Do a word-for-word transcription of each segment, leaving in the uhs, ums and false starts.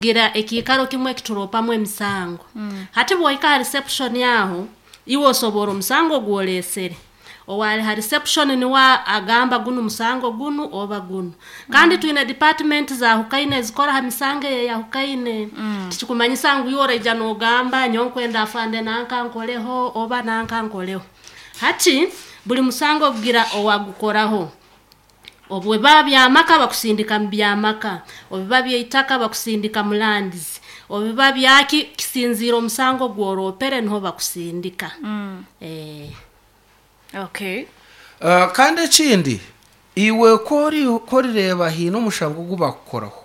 Gira ekiikaro kimwe ekituropamu emisango. Hati bwohika ha reception aho, iwe osobora omusango gwoleesere. Owali ha reception niwe agamba gunu musango gunu oba gunu. Kandi twine department zahukaine ezikora ha misango eyahukaine. Tikikumanyisa ngu iwe oraija nogamba nyowe nkwenda afande nanka nkoleho oba nanka nkoleho. Hati buli musango gugira owagukoraho. Obu biba by'amaka bakusindika mu by'amaka, obu biba by'eitaka bakusindika mu lands, obu biba byaki kisinziira omusango gworoopere niho bakusindika. Eh. Okay. Uh, kandi ekindi iwe kori korireeba haine omushango ogu bakukoraho,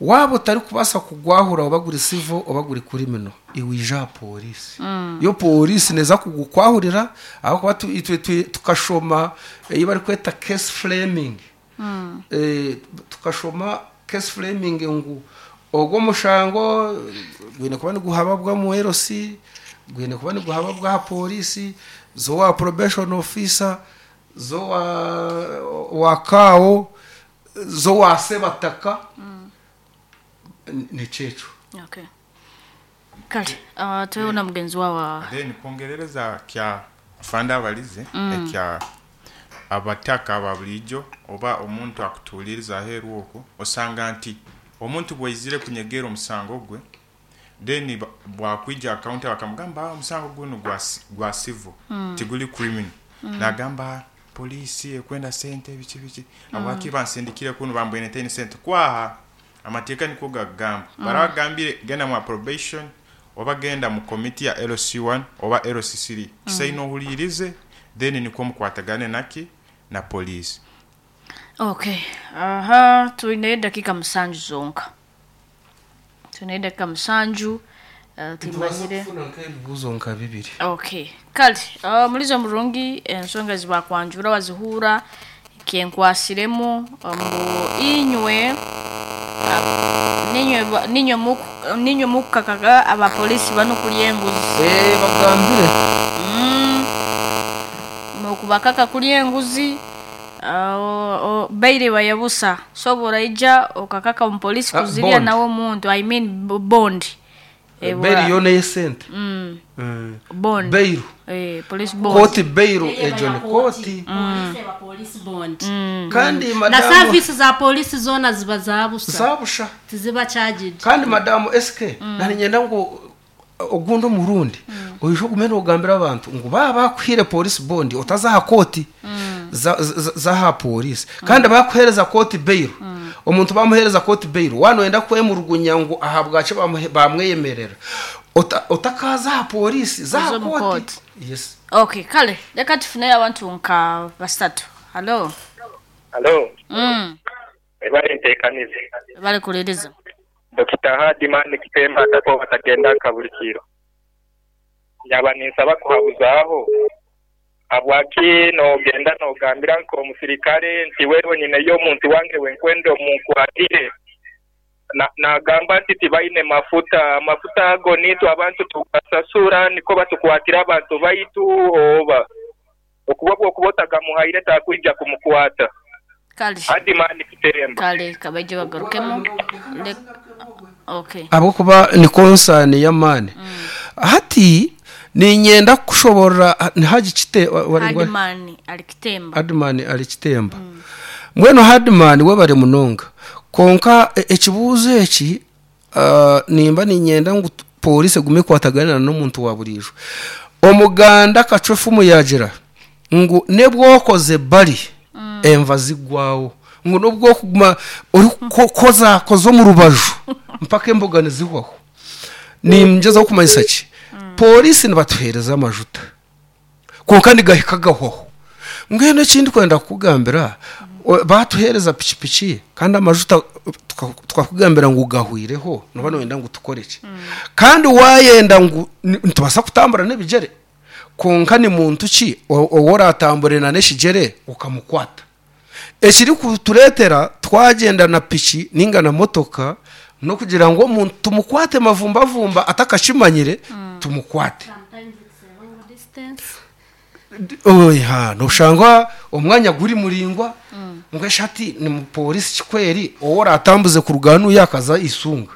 waaba otarikubaasa kugwahura oba guri civil oba guri criminal, iwe ija aha pooriisi. Yo pooriisi neeza kugukwahurira ahabw'okuba tu- itwe twi- tukashoma ei barikweta case framing. Eh, tukashoma case framing ngu ogwo omushango gwine kuba niguhababwa mu L C, gwine kuba niguhababwa aha pooriisi, zo wa probation officer, zo wa wa C A O, zo wa sebataka, nikyekyo. Okay. Kale, uh, tweho na mugenzi wawa. Then kwongerereza kya afande abalize ekya abataka aba bulijjo oba omuntu akutuuliriza aheeru okwo, osanga nti omuntu bwaizire kunyegera omusango gwe, then ba- bwakwija counter bakamugamba, "Ah, omusango guno gwa, gwa civil, tiguli criminal." Nagamba poliisi ekwenda sente biki biki, habwaki bansindikire kuno bambwene ntaine sente? Kwaha amateeka niko gagamba, barabagambire genda mu probation oba genda mu committee ya L C one oba L C three, kisaine ohuliirize, then nikwo mukwatagane naki na poliisi. Okay. Aha, twine dakika musanju zonka. Twine dakika musanju. Uh, timanyire. Kufuna nk'ebibuuzo nka bibiri. Okay. Kale, uh, mulizo murungi ensonga zibakwanjura wazihuura kenkwasiremu mbu inywe uh, ninywe ba- ninywe muku- ninywe mukukakaga abapolisi bano kulya enguzi. Eh, bagambire. Mm. Mukubakaka kulya enguzi, uh, o- baire bayabusa sobola ija okakaka omupolisi Ah, kuzirya bond. nawe omuntu, I mean b- bond. Eh, Bail bwa- yo ney'esente. mm, Mm. Bond. Bail. Eh, police bond. Kooti bail egyo ni kooti. Polisi eba police bond. Kandi Na madamu service za polisi zoona ziba zabusa. Zabusha. Tiziba charged. Kandi madamu S K, nari nyenda ngu ogundi omurundi oije ogume nogambira abantu ngu baba bakuhire police bond otaza aha kooti za- za- z'aha polisi, kandi bakuhereza kooti bail, omuntu bamuhereza kooti bail wano wenda kwemurugunya ngu aha bwaki bamuhe- bamweyemerera. Ota- otakaza aha polisi zaha Uze mu kooti. kooti. Yes. Okay, kale reka tufuneyo abantu nka basatu. Hallo. Halo, mm. ebale nteekanize. Bale kuliriza. Dokita Hadimani Kitemba atako batagenda nka buli kiro. Nyaba ninsaba kuhabuzaaho. Habwaki nogenda nogambira nk'omusirikale nti wewe nyineyo omuntu wange wenkwenda omunkwatire? Na- nagamba nti tibaine mafuta, amafuta ago nitwe abantu tugasasura niko batukwatira abantu baitu, oba okuba bwokuba otagamuhaire takwija kumukwata. Kale. Hadimani Kitemba. Kale kabaije bagarukemu. Le- okay. Ahabwokuba ni concern y'amaani. Hati ninyenda kushobora ntihagikite. Hadimani alikitemba. Hadimani ali Kitemba. Mbwenu Hadimani we bari munonga, konka e- ekibuuzo eki, ah, nimba ninyenda ngu tu- polisi egume ekwataganira n'omuntu wa buriijo. Omuganda kacwefumu yagira ngu nebwokoze bari enva zigwawo, ngu nobwokuguma ori koza koza omu rubaju mpaka emboga nizihwaho. Ningezaho kumanyisa ki? Polisi nibatuhereza amajuta, konka nigahika gahwaho. Mbwenu ekindi kwenda kukugambira, o- batuhereza pikipiki kandi amajuta tuka- tukakugambira ngu gahwireho, noba noyenda ngu tukore ki? Kandi wayenda ngu ni- nitubasa kutambura n'ebigere, konka ni muntu ki o- owu oratambure n'ekigere ukamukwata? Ekiri kutureetera twagenda na piki ninga na motoka nokugira ngu omuntu tumukwate mavumbavumba atakakimanyire, tumukwate. Sometimes it's a long distance. Oya, noshanga omwanya guri muringwa, ngo eshati ni mupolisi kikweri owo oratambuze kuruga hanu yakaza isunga.